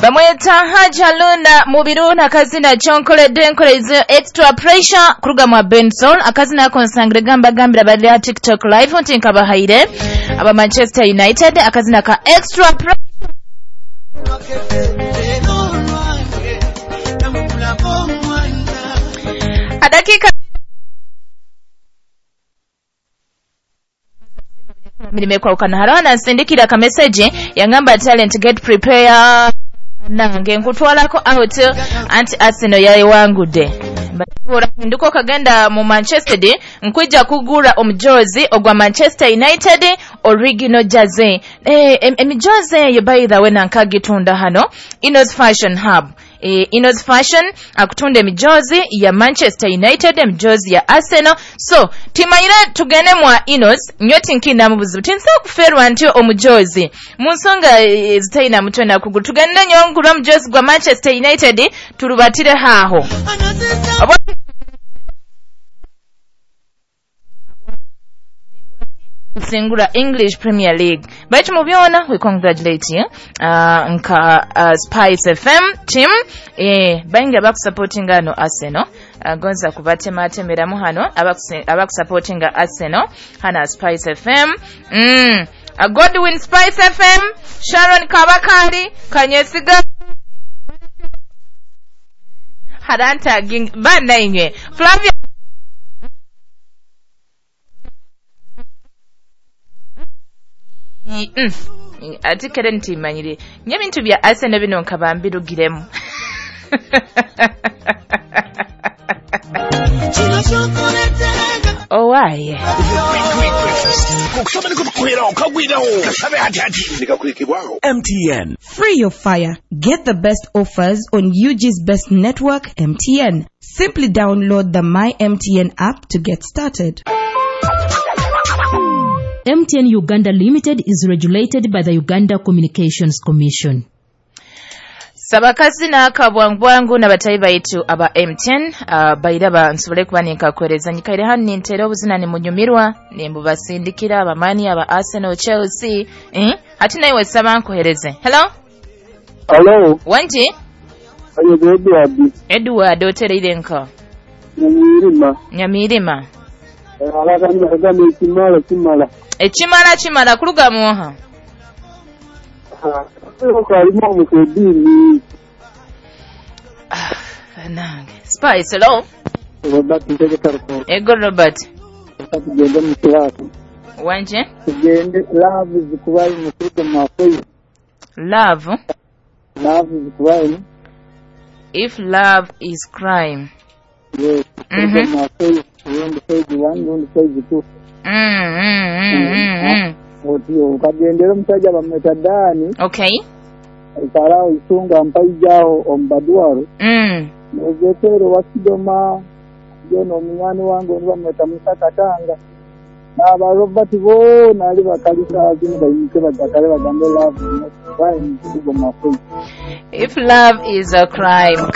Bamweta Hajaluna Mubiru nakazina kyonkoledde nkoleize extra pressure kuruga mwa Benson akazina ako nsangire gamba gambira bali ha TikTok live nti nkabahaire aba Manchester United akazina ka extra pressure. Adakika mirimo ekwawukana hariho nansindikira akameseji yangamba talent get prepare nange nkutwalako out anti Arsenal yayewangudde orahinduka okagenda mu Manchester nkwija kugura omujozi ogwa Manchester United original jersey. Emijozi eyo by the way nankagitunda hano Inos Fashion Hub. Inos Fashion akutunda emijozi ya Manchester United, emijozi ya Arsenal. So timanyire tugende mwa Inos nyoti nkina mu buzibu tinsa kuferwa nti omujozi mu nsonga zitayina mutwe na kuguru tugende nyongura omujozi gwa Manchester United turubatire haho. Singura English Premier League. Baitu mu byona we congratulate you. Nka Spice FM team baingi abakusupportinga no Arsenal. Gonza kubatematemeramu hano abakusupportinga Arsenal hana Spice FM. Godwin Spice FM, Sharon Kabakari, Kanyesiga Haranta Ging bana inywe Flavia ati kere ntimanyire nye bintu bya Arsenal bino nkabambirugiremu. Owaye MTN. Free your fire. Get the best offers on UG's best network, MTN. Simply download the My MTN app to get started. MTN Uganda Limited is regulated by the Uganda Communications Commission. Sabakazi na akabwangwangu na batayi baitu aba MTN bairaba nsobole kuba ninkakuhereza nyikaire hano nintera obuzina nimunyumirwa nimbubasindikira abamani aba Arsenal, Chelsea ati nawe saba nkuhereze. Hello? Hello. Wanji? Ayo Edward. Edward otereire nka. Nyamirima. Nyamirima. Ekimala kimala. Ekimala kimala kuluga muha. Nange. Spice, hello. Robert Ntegeka. Ego Robert. Tugende mu class. Wanje? Tugende love zikubaye mukuruga mwakoyi. Love? Love zikubaye. If love is crime. Yes. Mwakoyi. Rundi page 1, rundi page 2. Otyo ukagendera omusajja bamweta Dani. Okay. Ikaraho isunga mpaijaho omubaduwaro. Nezetero wasidoma yono omunyani wange oni bamweta Musa Katanga. N'aba Robert boona ali bakalisa zino bayimuke bajakale bagambe love. If love is a crime.